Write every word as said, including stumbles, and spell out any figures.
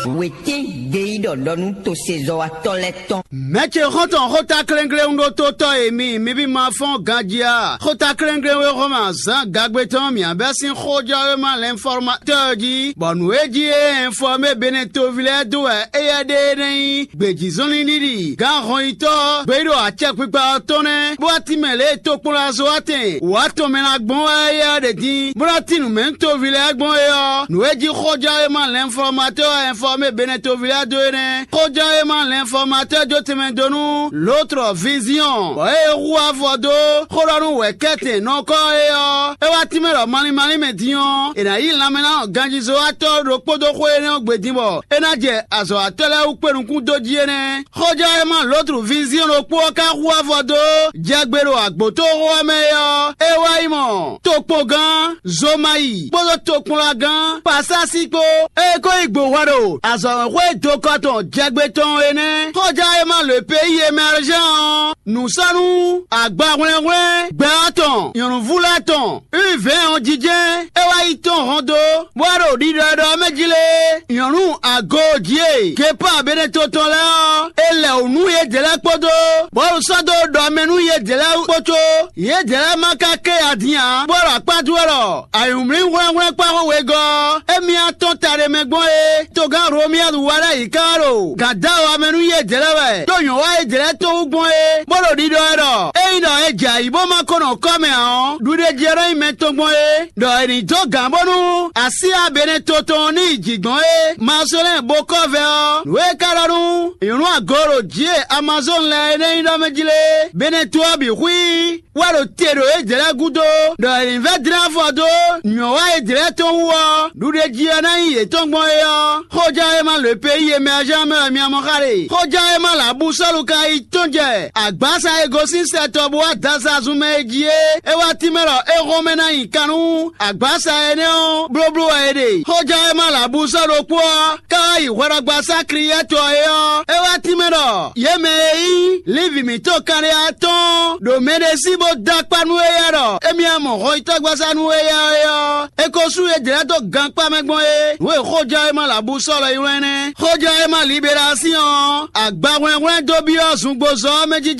Wětín gbeyíɖɔ ɖɔ nú tosezɔ́watɔ́ lɛ́ɛ tɔn. Mɛ̌ ce xɔ́ntɔn xóta klɛ́nklɛ́n ɖó tó tɔ́ e mi, mi bí ma fɔ́n ganjí a? Xóta klɛ́nklɛ́n e Hlɔ̌ma zǎn gagbe tɔn mǐ bɛ́ sín xójɔ́wéma lɛnfɔ́matɔ́ ɔ́ jí, bɔ nǔ e jí é ɛnfɔ́mé Benɛtoví lɛ́ɛ dó wɛ éyɛ́ ɖe é nɛ́ nyí gbějízɔnlin ɖiɖi gǎn hɔnyitɔ́ gbeyíɖɔ acɛkpikpa ɔ́ tɔn nɛ́, bó wá tín mɛ lě e tokpɔnlazɔ́watɛn wǎ tɔn mɛ ná gbɔn wɛ éyɛ́ ɖe din, bó ná tín nǔ mɛ nú toví lɛ́ɛ gbɔn é ɔ́, nǔ e jí xójɔ́wéma lɛnfɔ́matɔ́ ɛnfɔ́mé Benɛtoví lɛ́ɛ dó é nɛ́. Xójɔ́wéma lɛnfɔ́matɔ́ jó tɛnmɛ dó nú Lotr Viziɔn, bɔ é hu afɔ dó xó ɖɔ nú wɛ̌kɛ́tɛn nɔkɔ́ é ɔ́, é wá tínmɛ ɖɔ malín malín mɛ din ɔ́, è nǎ yí lanmɛnánɔ ganjízɔ́watɔ́ ɖokpó dó xó énɛ́ ɔ́ gbe din bɔ é ná jɛ azɔ̌watɔ́ lɛ́ɛ wú kpé nukún dó jí é nɛ́. Xójɔ́wéma Lotr Viziɔn ɖokpó ɔ́ ka hu afɔ dó jɛ gbe ɖo agbǒtóxó ɔ́ mɛ é ɔ́, é wá yi mɔ tokpɔngán Zomayi kpódó tokpɔnlagán Pasasi kpó. Ée é ko yi gbo hwɛ ɖo azɔ̌wɛ́nxwé dokɔ tɔn jɛgbe tɔn é nɛ́. Xɔjá e ma lǒ pé yi e mɛ Alezán ɔ́, nǔ sɔ́ nú agba hwlɛ́nhwlɛ́n gbɛ ɔ́ tɔn nyɔ̌nuví lɛ́ɛ tɔn wívɛ́n ɔ́ jijɛ. É wá yi tɔn hɔn dó, bó wá ɖo ɖiɖɔ e ɖɔ ɔ́ mɛ jí lé. Nyɔ̌nu ago jí e Gepa Beneto tɔn lɛ́ɛ ɔ́, é lɛ wǔ nú yědɛɛ lɛ́ɛ kpódó, bɔ é ɖo sɔ́ dó ɖɔ mɛ nú yědɛɛ lɛ́ɛ kpó có. Yědɛɛ lɛ́ɛ ma ka ké adin ǎ, bó ɖo akpá dó wɛ ɖɔ ayǐmlí hwlɛ́nhwlɛ́n kpá xó wegɔ́ ɔ́, émí ná tɔ́n ta ɖé mɛ gbɔn é. Togán Romiyadu wá ɖ'ayǐ ká wá ɖo gǎn dó awa mɛ nú yědɛɛ lɛ́ɛ wɛ, ɖó nyɔ̌ wá yědɛɛ lɛ́ɛ tó wú gbɔn é, bó ɖo ɖiɖɔ wɛ ɖɔ: Ényí ɖɔ è jɛ ayǐ bó ma ko nɔ kɔ́ mɛ ǎ ɔ́, ɖuɖéjí ɔ́ nɔ nyí mɛ tɔn gbɔn é, ɖɔ è nǐ dó gǎn bónú así Abɛnɛto tɔn ní yi jǐ gbɔn é. Masolɛ́n bo kɔ́ vɛ ɔ́, nǔ e ka ɖɔ nú nyɔ̌nu agooɖo jǐ e Amazɔ́ɔn lɛ́ɛ é nɛ́ nyí ɖɔ mɛ jí lé. Bɛnɛto ɔ́ bǐ xwí wá ɖo te ɖo yědɛɛ lɛ́ɛ gúdo, ɖɔ è nǐ vɛ́ dlɛ́n afɔ dó nyɔ̌ wá yědɛɛ lɛ́ɛ tɔn wú ɔ́, ɖuɖéjí ɔ́ ná nyí yětɔn gbɔn é ɔ́, xóján e ma lǒ pé yi e mɛ Azán mɛ wɛ mi mɔ xa ɖe. Xóján e ma lǎbú Sɔ́lu ka yi tɔ́n jɛ agbǎsa e gosín sɛ tɔn bó wá dasa zun mɛ é jí é, é wá tínmɛ ɖɔ é hɔn mɛ ná nyi kan nú agbǎsa énɛ́ ɔ́ blóbló wɛ é ɖe. Xóján e ma lǎbú Sɔ́lu kpó ɔ́, ká wá yi hwɛɖɔgbasá Kliyɛ́tɔ é ɔ́, é wá tínmɛ ɖɔ yě mɛ e nyí Livi mǐtɔn kanɖéya tɔn ɖo mɛ ɖé sí bó dó akpá nú éyɛ́ ɖɔ émí mɔ hɔnyitɔ́gbasá nú éyɛ́ é ɔ́, é ko sú yě jlɛ́ dó gankpá mɛ gbɔn é. Nǔ e xójɔ́ e ma lɛ abú sɔ́ lɔ yi wlɛ́n nɛ́. Xójɔ́ e ma Liberasíɔn ɔ́, agba hwlɛ́nhwlɛ́n dó byɔ́ zungbozɔ́ ɔ́ mɛ jí